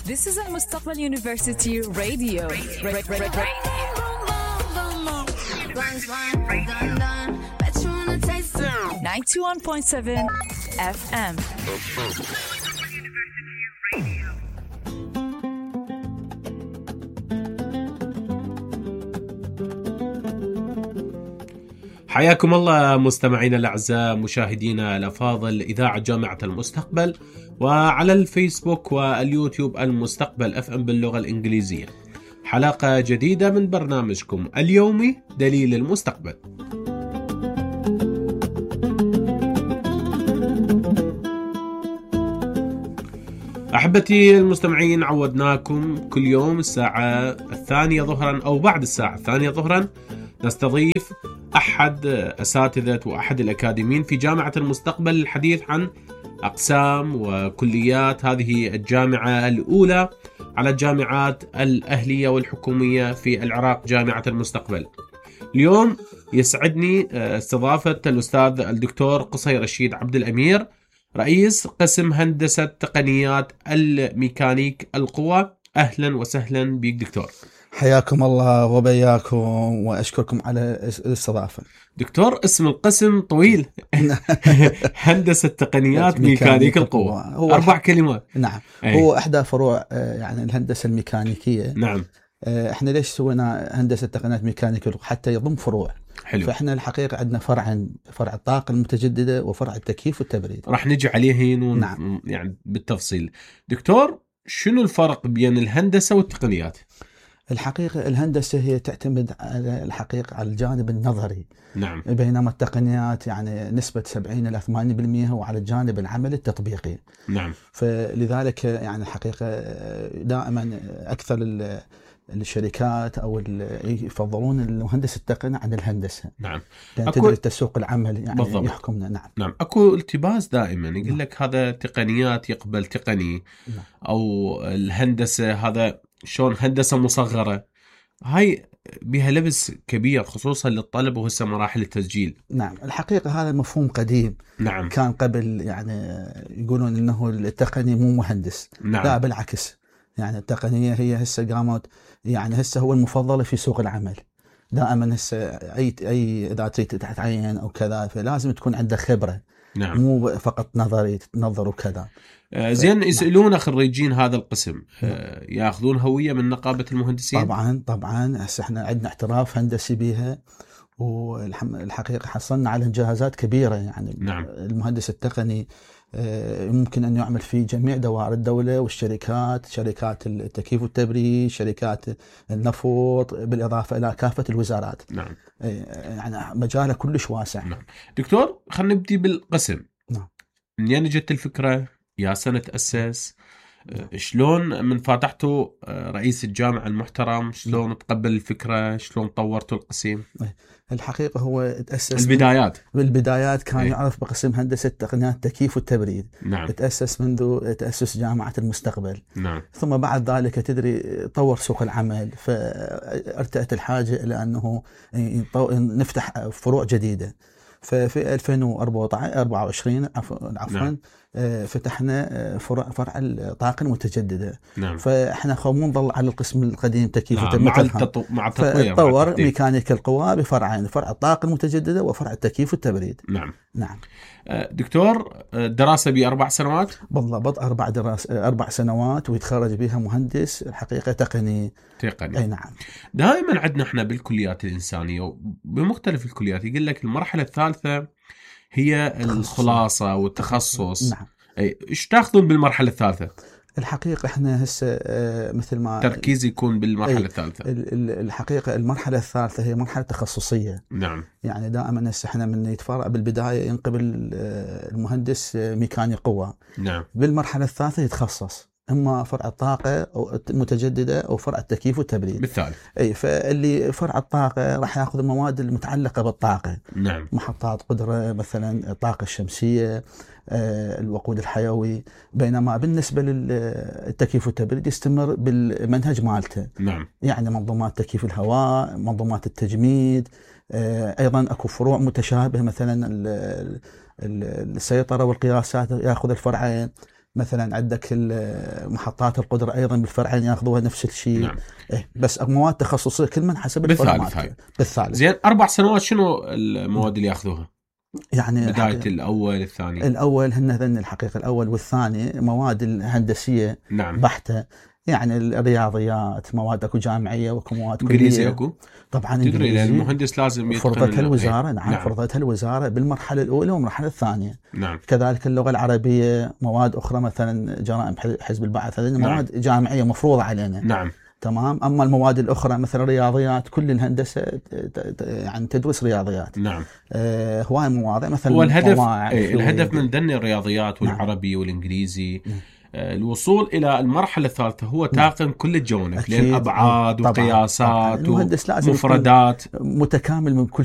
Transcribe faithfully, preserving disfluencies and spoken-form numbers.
This is المستقبل University Radio. ninety-one point seven F M. حياكم الله مستمعينا الأعزاء، مشاهدينا الأفاضل، إذاعة جامعة المستقبل، وعلى الفيسبوك واليوتيوب المستقبل أف أم باللغة الإنجليزية. حلقة جديدة من برنامجكم اليومي دليل المستقبل. أحبتي المستمعين، عودناكم كل يوم الساعة الثانية ظهرا أو بعد الساعة الثانية ظهرا نستضيف أحد أساتذة وأحد الأكاديميين في جامعة المستقبل للحديث عن أقسام وكليات هذه الجامعة الأولى على الجامعات الأهلية والحكومية في العراق، جامعة المستقبل. اليوم يسعدني استضافة الأستاذ الدكتور قصي رشيد عبد الأمير، رئيس قسم هندسة تقنيات الميكانيك القوى. أهلا وسهلا بك دكتور. حياكم الله وبياكم، وأشكركم على الاستضافة. دكتور، اسم القسم طويل. هندسة تقنيات ميكانيك القوى، هو أربع كلمات. نعم. أي. هو أحدى فروع يعني الهندسة الميكانيكية. نعم. احنا ليش سوينا هندسة تقنيات ميكانيك القوى؟ حتى يضم فروع. حلو. فاحنا الحقيقة عندنا فرعين، فرع الطاقة المتجددة وفرع التكييف والتبريد. راح نجي عليه ون... نعم. يعني بالتفصيل. دكتور، شنو الفرق بين الهندسة والتقنيات؟ الحقيقة الهندسة هي تعتمد على الحقيقة على الجانب النظري. نعم. بينما التقنيات يعني نسبة سبعين إلى ثمانين بالمئة هو على الجانب العمل التطبيقي. نعم. فلذلك يعني الحقيقة دائما أكثر الشركات أو يفضلون المهندس التقني عن الهندسة. نعم. لأن أكو... تدري تسوق العمل يعني بالضبط. يحكمنا. نعم. نعم. أكو التباس دائما يقول نعم. لك هذا تقنيات يقبل تقني. نعم. أو الهندسة هذا شلون هندسة مصغرة. هاي بها لبس كبير خصوصا للطلب وهسه مراحل التسجيل. نعم. الحقيقة هذا مفهوم قديم. نعم. كان قبل يعني يقولون إنه التقني مو مهندس. نعم. لا بالعكس، يعني التقنية هي هسه قامت يعني هسه هو المفضلة في سوق العمل. دائما هسه أي أي إذا تريد تتعين أو كذا فلازم تكون عندك خبرة. نعم. مو فقط نظري تنظر وكذا. آه زين. يسألون نعم. خريجين هذا القسم آه ياخذون هوية من نقابة المهندسين؟ طبعا طبعا. هسه احنا عندنا اعتراف هندسي بها، والحقيقة حصلنا على انجازات كبيرة. يعني نعم. المهندس التقني ممكن أن يعمل في جميع دوائر الدولة والشركات، شركات التكييف والتبريد، شركات النفط، بالإضافة إلى كافة الوزارات. نعم. يعني مجاله كلش واسع. نعم. دكتور، خلينا نبدي بالقسم. نعم. منين جت الفكرة؟ يا سنة تأسس؟ نعم. شلون من فاتحتوا رئيس الجامعة المحترم؟ شلون نعم. تقبل الفكرة؟ شلون طورتوا القسم؟ الحقيقة هو تأسس البدايات. بالبدايات كان أي. يعرف بقسم هندسة تقنيات التكييف والتبريد. نعم. تأسس منذ تأسس جامعة المستقبل. نعم. ثم بعد ذلك تدري طور سوق العمل، فارتأت الحاجة إلى أنه نفتح فروع جديدة. ففي ألفين وأربعة وعشرين عفوا نعم. فتحنا فرع فرع الطاقة المتجددة. نعم. فاحنا خو نظل على القسم القديم تكييف نعم. وتبريد مع التطو... مع التطوير طور ميكانيك القوى بفرعين، فرع الطاقة المتجددة وفرع التكييف والتبريد. نعم. نعم. دكتور، دراسة بأربع سنوات؟ بالضبط أربع دراسة أربع سنوات ويتخرج بها مهندس الحقيقة تقني. تقني. أي نعم. دائما عندنا احنا بالكليات الإنسانية بمختلف الكليات يقول لك المرحلة الثالثة هي الخلاصة والتخصص. نعم. أي إيش تأخذون بالمرحلة الثالثة؟ الحقيقة احنا هسه مثل ما تركيز يكون بالمرحلة الثالثة. الحقيقة المرحلة الثالثة هي مرحلة تخصصية. نعم. يعني دائما هسه احنا من يتفرع بالبداية ينقبل المهندس ميكانيك قوة. نعم. بالمرحلة الثالثة يتخصص اما فرع الطاقة او المتجددة او فرع التكييف والتبريد. بالتالي اي فاللي فرع الطاقة راح ياخذ المواد المتعلقة بالطاقة. نعم. محطات قدرة مثلا الطاقة الشمسية، الوقود الحيوي. بينما بالنسبة للتكييف والتبريد يستمر بالمنهج مالته. نعم. يعني منظومات تكييف الهواء، منظومات التجميد، أيضا أكو فروع متشابهة مثلا السيطرة والقياسات يأخذ الفرعين. مثلا عندك محطات القدرة أيضا بالفرعين يأخذوها نفس الشيء. نعم. إيه بس مواد تخصصية كل من حسب بالثالث هاي. بالثالث. زين أربع سنوات شنو المواد اللي يأخذوها؟ يعني بداية الأول الثاني. الأول هن ذن الحقيقة الأول والثاني مواد الهندسية. نعم. بحتة، يعني الرياضيات، مواد اكو جامعيه واكو مواد كليه. انجليزي اكو؟ طبعا تدري لان المهندس لازم يتقن فرضتها الوزاره. نعم, نعم فرضتها الوزاره بالمرحله الاولى والمرحله الثانيه. نعم. كذلك اللغه العربيه، مواد اخرى مثلا جرائم حزب البعث، هذه مواد نعم. جامعيه مفروضه علينا. نعم. تمام. اما المواد الاخرى مثلا الرياضيات، كل الهندسه يعني تدرس رياضيات. نعم. آه هواي مواضيع مثلا. هو الهدف ايه الهدف من ذن الرياضيات والعربي نعم. والانجليزي نعم. الوصول إلى المرحلة الثالثة هو تاقن كل الجوانب، لأن أبعاد وقياسات ومفردات، متكامل من كل